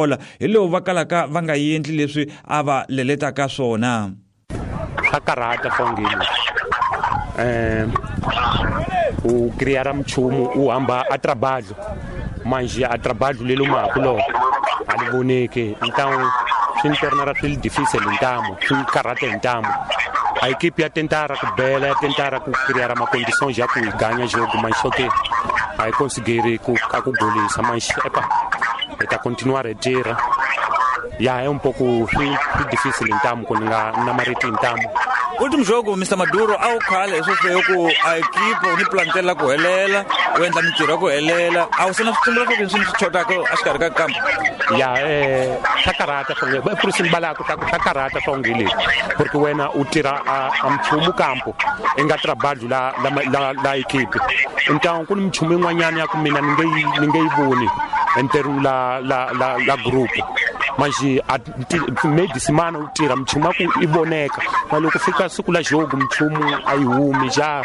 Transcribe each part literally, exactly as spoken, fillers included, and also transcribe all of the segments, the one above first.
Bola hi lowu va kalaka va nga endli leswi a va leletaka swona. Swa karhata fongeni eh u criar mchumu u hamba a trabalho manje a trabalho lelo makulo a li voneke, então swi ni tornará swi difícil ntamu swi karhata ntamu. A equipe ia tentar ku bela, ia tentar ku criar uma condição já ku ganha jogo, mas só que aí conseguir ku a ku golisa, mas epa eta continuar a tira. Ya é um pouco difícil ntamu ku nga na mariti ntamu. Último jogo mister Maduro a wu khale sweswo ku a equipe ni plantel ku helela u endla mintirho ku helela a wu sena switsundzuxo swo swi swi chotaka exikarhi ka kampo. Ya eh swa karhata swo ba por isso balako ta swa karhata swo ngili porque wena u tira a mchumu kampo enga trabalho la la la equipe, então ku ni mchumu yin'wanyana ya ku mina ni nge ni nge yi voni enteru la la la la grupo manje a meio de semana u tira mchumu ku i voneka mas loko fika siku la jogo mchumu a yi humi ja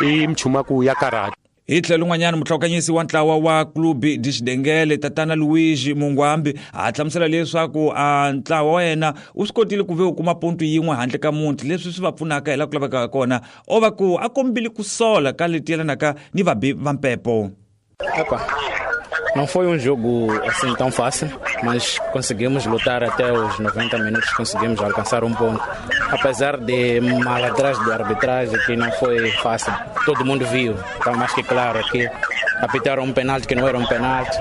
i mchumu ku ya karhata. Hi tlhelo un'wanyana muhlokanyisi wa ntlawa wa Clube de Xidengele tatana Luigi Mungwambi a hlamusela leswaku a ntlawa wa yena u swi kotile ku ve u kuma ponto yin'we handle ka muti leswi swi va pfunaka hi laha ku lavekaka kona o va ku a kombile ku sola ka leti yelanaka ni vabi va mpepo. Epa, não foi um jogo assim tão fácil, mas conseguimos lutar até os noventa minutos, conseguimos alcançar um ponto. Apesar de mal atrás de arbitragem, que não foi fácil, todo mundo viu, está mais que claro que apitaram um penalti que não era um penalti,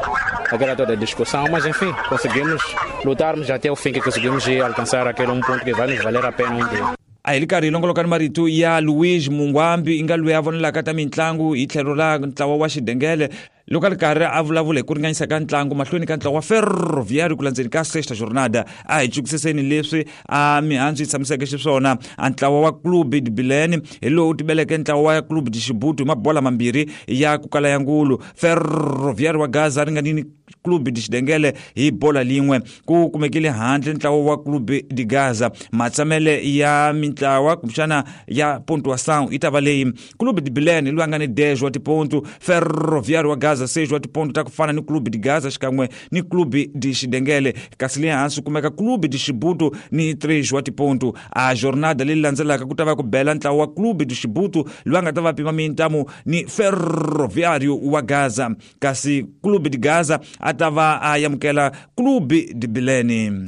aquela toda discussão, mas enfim, conseguimos lutarmos até o fim, que conseguimos ir alcançar aquele um ponto que vai nos valer a pena um dia. A hi ri karhi hi longolokani marito ya Luigi Mungwambi i nga loyi a vonelaka ta mitlangu hi tlhelo ra ntlawa wa Xidengele loko a ri karhi a vulavula hi ku ringanyisa ka ntlangu mahlweni ka ntlawa wa Ferroviário ku landzeni ka sexta jornada. A hi cukisiseni leswi a mihandzu yi tshamiseke xiswona. A ntlawa wa Clube de Bilene hi lowu tibeleke ntlawa wa Clube de Xibutu hi mabola mambirhi ya ku kala ya ngulu. Ferroviário wa Gaza ringanini Clube de Xidengele hi bola lin'we ku kumekile handle ntlawa wa Clube de Gaza. Matsamele ya mintlawa kumbexana ya pontuação yi ta va leyi: Clube de Bilene loyi a nga ni dez wa tipontu, Ferroviário wa Gaza seis wa tipontu ta ku fana ni Clube de Gaza xikan'we ni Clube de Xidengele, kasi le hansi kumeka Clube de Xibutu ni três wa tipontu. A jornada leyi landzelaka ku ta va ku bela ntlawa wa Clube de Xibutu loyi a nga ta va pima mintamu ni Ferroviário wa Gaza, kasi Clube de Gaza a ta va a amukela Clube de Bilene.